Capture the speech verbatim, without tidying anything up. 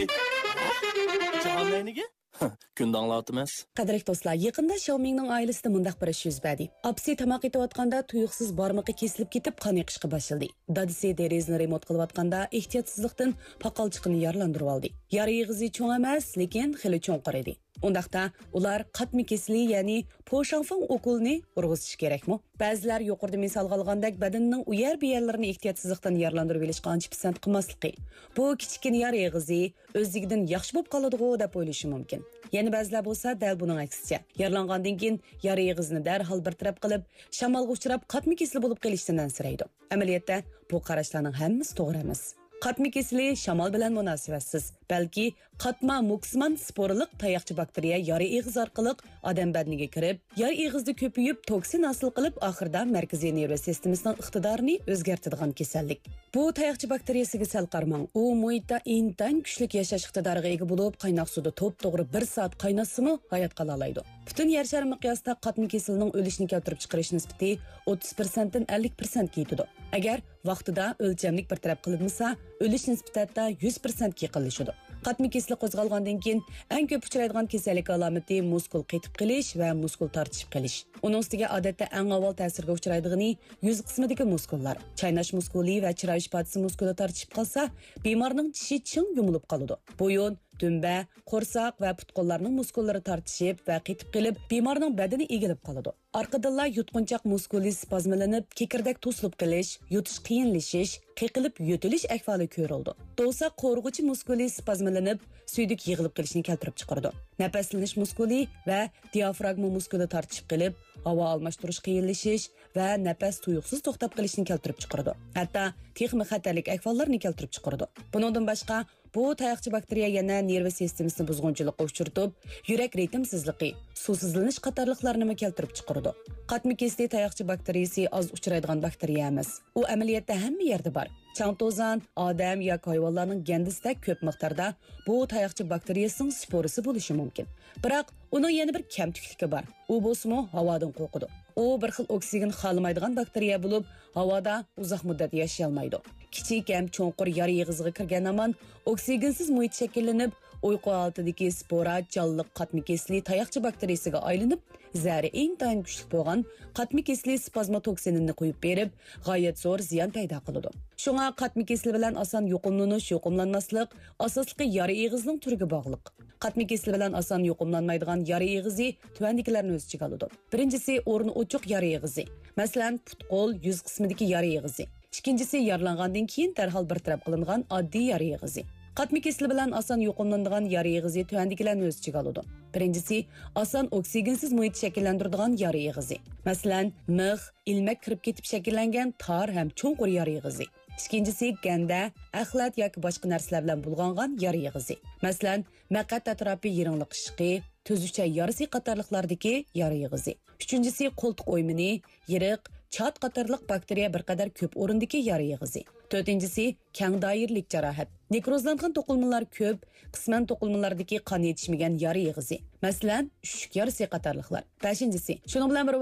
جاھان نەينىگە؟ كۈندە ئاڭلاۋاتىمىز. قەدىرلىك دوستلار، يېقىندا شياۋمىڭنىڭ ئائىلىسىدە مۇنداق بىر ئىش يۈز بەردى. ئاپىسى تاماق ئېتىۋاتقاندا تۇيۇقسىز بارمىقى كېسىلىپ كېتىپ، قان ئېقىشقا باشلىدى. دادىسى دېرىزىنى رېمونت قىلىۋاتقاندا ئېھتىياتسىزلىقتىن پاقالچىقىنى يارىلاندۇرۇۋالدى. يارا ئېغىزى چوڭ ئەمەس، لېكىن خېلى چوڭقۇر ئىدى. ئۇنداقتا ئۇلار قاتما كېسىلى، يەنى پوشاڭفېڭ ئوكۇلىنى ئۇرغۇزۇشى كېرەكمۇ؟ بەزىلەر يۇقىرىدا مىسالغا ئالغاندەك بەدىنىنىڭ ئۇ يەر بۇ يەرلىرىنى ئېھتىياتسىزلىقتىن يارىلاندۇرۇۋېلىشقا ئانچە پىسەنت قىلماسلىقى، بۇ كىچىككىنە يارا ئېغىزى ئۆزلۈكىدىن ياخشى بولۇپ قالىدىغۇ دەپ ئويلىشى مۇمكىن. يەنە بەزىلەر بولسا دەل بۇنىڭ ئەكسىچە، يارىلانغاندىن كېيىن يارا ئېغىزىنى دەرھال بىر تەرەپ قىلىپ، شامالغا ئۇچراپ قاتما كېسىلى بولۇپ قېلىشتىن ئەنسىرەيدۇ. ئەمەلىيەتتە بۇ قاراشلارنىڭ ھەممىسى توغرا ئەمەس. قاتما كېسىلى شامال بىلەن مۇناسىۋەتسىز، بەلكى قاتما مۇكسىمان سپورىلىق تاياقچە باكتېرىيە يارا ئېغىز ئارقىلىق ئادەم بەدىنىگە كىرىپ، يارا ئېغىزدا كۆپىيىپ، توكسىن ھاسىل قىلىپ، ئاخىرىدا مەركىزىي نېرۋا سىستېمىسىنىڭ ئىقتىدارىنى ئۆزگەرتىدىغان كېسەللىك. بۇ تاياقچە باكتېرىيەسىگە سەل قارىماڭ، ئۇ مۇھىتتا ئىنتايىن كۈچلۈك ياشاش ئىقتىدارىغا ئىگە بولۇپ، قايناق سۇدا توپتوغرا بىر سائەت قايناتسىمۇ ھايات قالالايدۇ. پۈتۈن يەر شارى مىقياسىدا قاتما كېسىلىنىڭ ئۆلۈشنى كەلتۈرۈپ چىقىرىش نىسبىتى ئوتتۇز پىرسەنتتىن ئەللىك پىرسەنتكە يېتىدۇ. ئەگەر ۋاقتىدا ئۆلچەملىك بىر تەرەپ قىلىنمىسا، ئۆلۈش نىسبىتى ھەتتا يۈز پىرسەنتكە يېقىنلىشىدۇ. قاتما كېسىلى قوزغالغاندىن كېيىن ئەڭ كۆپ ئۇچرايدىغان كېسەللىك ئالامىتى مۇسكۇل قېتىپ قېلىش ۋە مۇسكۇل تارتىشىپ قېلىش. ئۇنىڭ ئۈستىگە ئادەتتە ئەڭ ئاۋۋال تەسىرگە ئۇچرايدىغىنى يۈز قىسمىدىكى مۇسكۇللار. چايناش مۇسكۇلى ۋە چىراي ئىپادىسى مۇسكۇلى تارتىشىپ قالسا، بىمارنىڭ چىشى چىڭ يۇمۇلۇپ قالىدۇ. بويۇن، دۈمبە، قورساق ۋە پۇت-قوللارنىڭ مۇسكۇللىرى تارتىشىپ ۋە قېتىپ قېلىپ، بىمارنىڭ بەدىنى ئېگىلىپ قالىدۇ. ئارقىدىنلا يۇتقۇنچاق مۇسكۇلى سپازمىلىنىپ، كېكىردەك توسۇلۇپ قېلىش، يۇتۇش قىيىنلىشىش، قېقىلىپ يۆتىلىش ئەھۋالى كۆرۈلىدۇ. دوۋساق قورۇغۇچى مۇسكۇلى سپازمىلىنىپ، سۈيدۈك يىغىلىپ قېلىشنى كەلتۈرۈپ چىقىرىدۇ. نەپەسلىنىش مۇسكۇلى ۋە دىئافراگما مۇسكۇلى تارتىشىپ قېلىپ، ھاۋا ئالماشتۇرۇش قىيىنلىشىش ۋە نەپەس تۇيۇقسىز توختاپ قېلىشنى كەلتۈرۈپ چىقىرىدۇ. ھەتتا تېخىمۇ خەتەرلىك ئەھۋاللارنى كەلتۈرۈپ چىقىرىدۇ. بۇنىڭدىن باشقا، بۇ تاياقچە باكتېرىيە يەنە نېرۋا سىستېمىسىنى بۇزغۇنچىلىققا ئۇچرىتىپ، يۈرەك رىتىمسىزلىقى، سۇسىزلىنىش قاتارلىقلارنىمۇ كەلتۈرۈپ چىقىرىدۇ. قاتما كېسىلى تاياقچە باكتېرىيىسى ئاز ئۇچرايدىغان باكتېرىيە ئەمەس. ئۇ ئەمەلىيەتتە ھەممە يەردە بار. چاڭ-توزان، ئادەم ياكى ھايۋانلارنىڭ گەندىسىدە كۆپ مىقداردا بۇ تاياقچە باكتېرىيىسىنىڭ سپورىسى بولۇشى مۇمكىن. بىراق ئۇنىڭ يەنە بىر كەمتۈكلۈكى بار. ئۇ بولسىمۇ ھاۋادىن قورقىدۇ. ئۇ بىر خىل ئوكسىگېن خالىمايدىغان باكتېرىيە بولۇپ، ھاۋادا ئۇزاق مۇددەت ياشىيالمايدۇ. كىچىك ھەم چوڭقۇر يارا ئېغىزىغا كىرگەن ھامان ئوكسىگېنسىز مۇھىت شەكىللىنىپ، ئۇيقۇ ھالىتىدىكى سپورا جانلىق قاتما كېسىلى تاياقچە باكتېرىيىسىگە ئايلىنىپ، زەھىرى ئىنتايىن كۈچلۈك بولغان قاتما كېسىلى سپازما توكسىنىنى قويۇپ بېرىپ، غايەت زور زىيان پەيدا قىلىدۇ. شۇڭا قاتما كېسىلى بىلەن ئاسان يۇقۇملىنىش، يۇقۇملانماسلىق ئاساسلىقى يارا ئېغىزنىڭ تۈرىگە باغلىق. قاتما كېسىلى بىلەن ئاسان يۇقۇملانمايدىغان يارا ئېغىزى تۆۋەندىكىلەرنى ئۆز ئىچىگە ئالىدۇ. بىرىنچىسى، ئورنى ئوچۇق يارا ئېغىزى. مەسىلەن، پۇت-قول، يۈز قىسمىدىكى يارا ئېغىزى. ئىككىنچىسى، يارىلانغاندىن كېيىن دەرھال بىر تەرەپ قىلىنغان ئاددىي يارا ئېغىزى. قاتما كېسىلى بىلەن ئاسان يۇقۇملىنىدىغان يارا ئېغىزى تۆۋەندىكىلەرنى ئۆز ئىچىگە ئالىدۇ. بىرىنچىسى، ئاسان ئوكسىگېنسىز مۇھىت شەكىللەندۈرىدىغان يارا ئېغىزى. مەسىلەن، مىخ، ئىلمەك كىرىپ كېتىپ شەكىللەنگەن تار ھەم چوڭقۇر يارا ئېغىزى. ئىككىنچىسى، گەندە، ئەخلەت ياكى باشقا نەرسىلەر بىلەن بۇلغانغان يارا ئېغىزى. مەسىلەن، مەقئەت ئەتراپى يىرىڭلىقىشىقى، تۈزۈكچە يارىسى قاتارلىقلاردىكى يارا ئېغىزى. ئۈچىنچىسى، قولتۇق ئويمىنى، يىرىق، چات قاتارلىق باكتېرىيە بىر قەدەر كۆپ ئورۇندىكى يارا ئېغىزى. تۆتىنچىسى، كەڭ دائىرىلىك جاراھەت. نېكروزلانغان توقۇلمىلار كۆپ، قىسمەن توقۇلمىلاردىكى قان يېتىشمىگەن يارا ئېغىزى. مەسىلەن، ئۈششۈك يارىسى قاتارلىقلار. بەشىنچىسى، شۇنىڭ بىلەن بىر